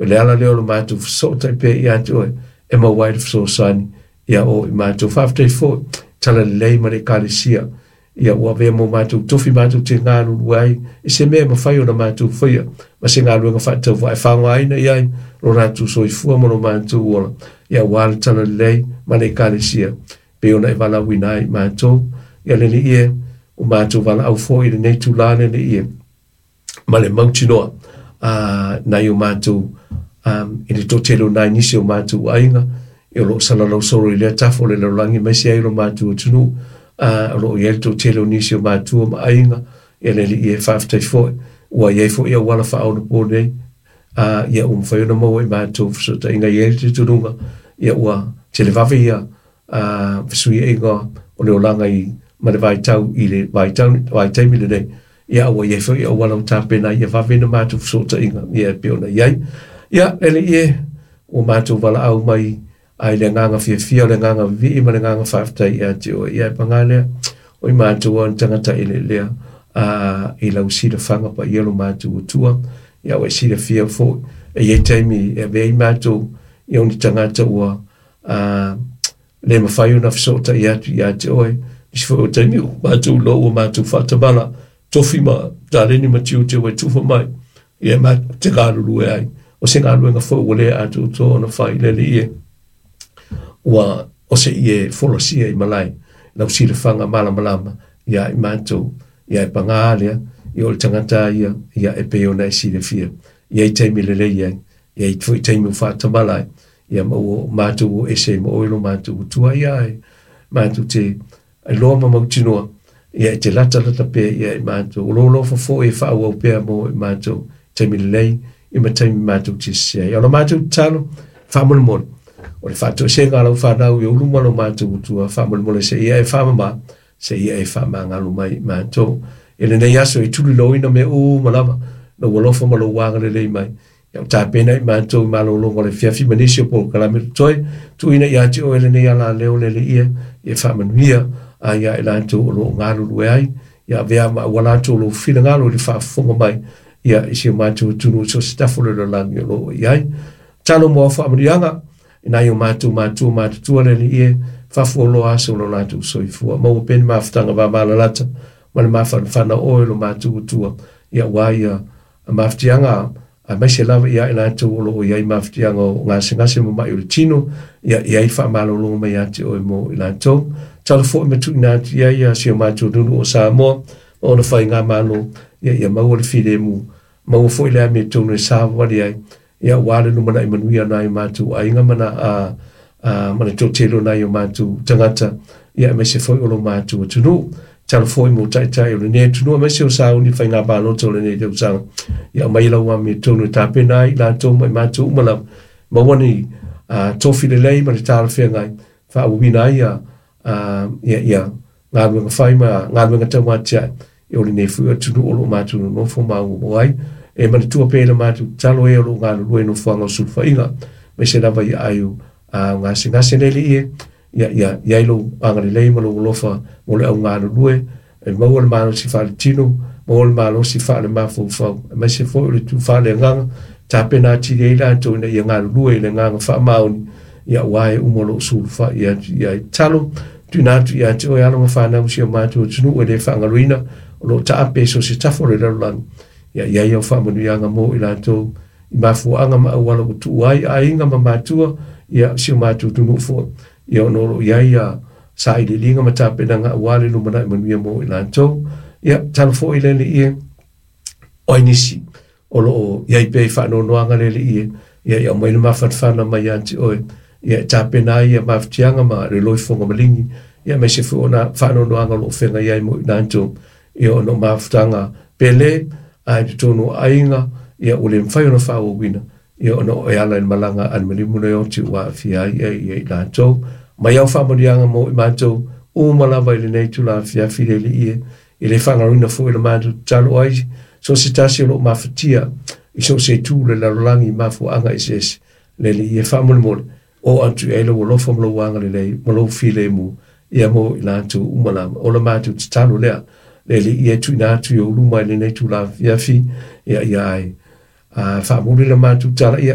O le ala lea o le matou fesootai pea ia te oe e maua ai le fesoasoani ia o i matou. Faafetai foi talalelei ma le Ekalesia ia ua avea mo matou tofi matou te galulue ai i se mea e mafai ona matou faia ma se galuega faatauvaa e faaaogaina i ai lo latou soifua ma lo matou ola ia aua le talalelei ma le Ekalesia pei ona e valaauina ai matou. Ia le Alii e, ua matou valaau foi i lenei itula le Alii e, ma le mautinoa nai o matou i le toatele o nai nisi o matou aiga o lo o salalau solo i lea tafa o le lalolagi aemaise ai lo matou atunuu o lo o i ai le toatele o nisi o matua ma aiga. Ia le Alii e, faafetai foi ua i ai foi auala faaonapo nei ia ua mafai ona maua i matou fesootaiga. I ai le talitonuga ia ua televave ia fesuiaiga o le olaga i ma le vaitau i le vaitau vaitaimi lenei ia ua i ai foi auala ua tapena ia vave na matou fesootaiga ia e pei ona i ai. Ia le Alii e, ua matou valaau mai ai le agaga fiafia, o le agaga vivii ma le agaga faafetai ia te oe. Ia e paga lea, o i matou o ni tagata eleelea i lau silafaga paia lo matou Atua. Ia ua e silafia foi e i ai taimi e avea ai matou ia o ni tagata ua le mafai ona fesootai atu ia te oe. Nisi foi o taimi ua matou iloa ua matou faatamala tofi ma taleni ma tiute ua e tufa mai ia matou te galulue ai. O se galuega foi ua le atoatoa ona fai, le Alii e, ua o se ie folasia i malae lau silafaga malamalama ia i matou. Ia e paga lea, ia o le tagata ia ia e pei ona e silafia, i ai taimi lelei ai, i ai foi taimi ua faatamala ai ia ma ua matou o ese ma oe lo matou Atua. Ia e matou te iloa ma mautinoa ia e te latalata pea ia i matou. O lou alofa foi e faaauau pea mo i matou taimi lelei ia ma taimi matou te sese ai. O la matou tatalo faamolemole, o le faatoesega a lau fanau i ou luma lo matou Atua, faamolemole se ia e faamama, se ia e faamagalo mai i matou. I lenei aso e tuliloaina mea uma lava lou alofa ma lou agalelei mai. Ia o tapena i matou i malologa o le afiafi ma nisi o polokalame totoe, tuuina ia te oe lenei alaleo, le Alii e, ia faamanuia a ia i latou o lo o galulue ai, ia avea ma auala atu o lou finagalo i le faafofoga mai ia i si o matou atunuu i so o se tafa o le lalolagi o lo o i ai. Talo mo au faamanuiaga i nai o matou matua matutua, le Alii e, faafualoa aso o lo latou soifua. Maua pea ni mafutaga vavalalata ma le mafanafana o oe lo matou Atua, ia aua ia mafatiaga aemaise lava ia i latou o lo o i ai mafatiaga o gasegase ma mai o le tino, ia i ai faamalologa mai ia te oe mo i latou. Talo foi ma tuuina atu i ai ia si o matou atunuu o Samoa ma ona faigamalo, ia ia maua le filemu, maua foi le amiotonu e savavali ai, ia aua le lumanai manuia o nai o matou aiga ma na ma le toatele o nai o matou tagata, ia aemaise foi o lo matou atunuu. Talo foi mo taitai o lenei atunuu aemaise o sauni faiga palota o lenei tausaga, ia aumai lau amiotonu e tapena ai i latou ma i matou uma lava, maua ni tofi lelei ma le talafeagai faaauauina ai ia ia ia galuega fai ma galuega tauatiae o lenei foi atunuu o lo o matou nonofo ma auauau ai. E manatua pea i le matou tatalo e o lo o galulue i nofoaga o sulufaiga, aemaise lava i aai o gasegase, le Alii e, ia ia i ai lou agalelei ma lou alofa mo le au galulue, e maua le malosi faaletino, maua le malosi faalemafaufau, aemaise foi o le tu faaleagaga, tapena atili ai latou ina ia galulue i le agaga faamaoni, ia aua e uma o lo o sulufai atu i ai. Talo tuuina atu ia te oe alo ma fanau si o matou atunuu e le faagaloina o lo o taape i so o se tafa o le lalolagi, ia i ai au faamanuiaga mo i latou i mafuaaga ma auala ua tuua ai aiga ma matua, ia si o matou atunuu foi, ia ona o lo o i ai ia sailiiliga ma tapenaga aua le lumanai manuia mo i latou. Ia talo foi le Alii e, o ai nisi o lo o i ai pea i faanoanoaga, le Alii e, ia ia aumai le mafanafana mai ia te oe, ia e tapena ai ia mafatiaga ma le loifofoga maligi, ia aemaise foi ona faanoanoaga o lo o feagai ai mo i latou, ia ona o mafutaga pele a i totonu o aiga, ia ua le mafai ona faaauauina, ia ona o e ala i le malaga a le maliu ma le oti ua aafia ai ia i latou. Mai au faamanuiaga mo i matou uma lava i lenei itula afiafi, le Alii e, e le faagaloina foi le matou tatalo ai so o se tasi o lo o mafatia i so o se itu o le lalolagi i mafuaaga eseese, le Alii e, faamolemole o atu i ai lou alofa ma lou agalelei ma lou filemu ia mo i latou uma lava. O le matou tatalo lea, le Alii e, tuuina atu i ou luma i lenei itula afiafi, ia ia ai faamuli le matou tala ia.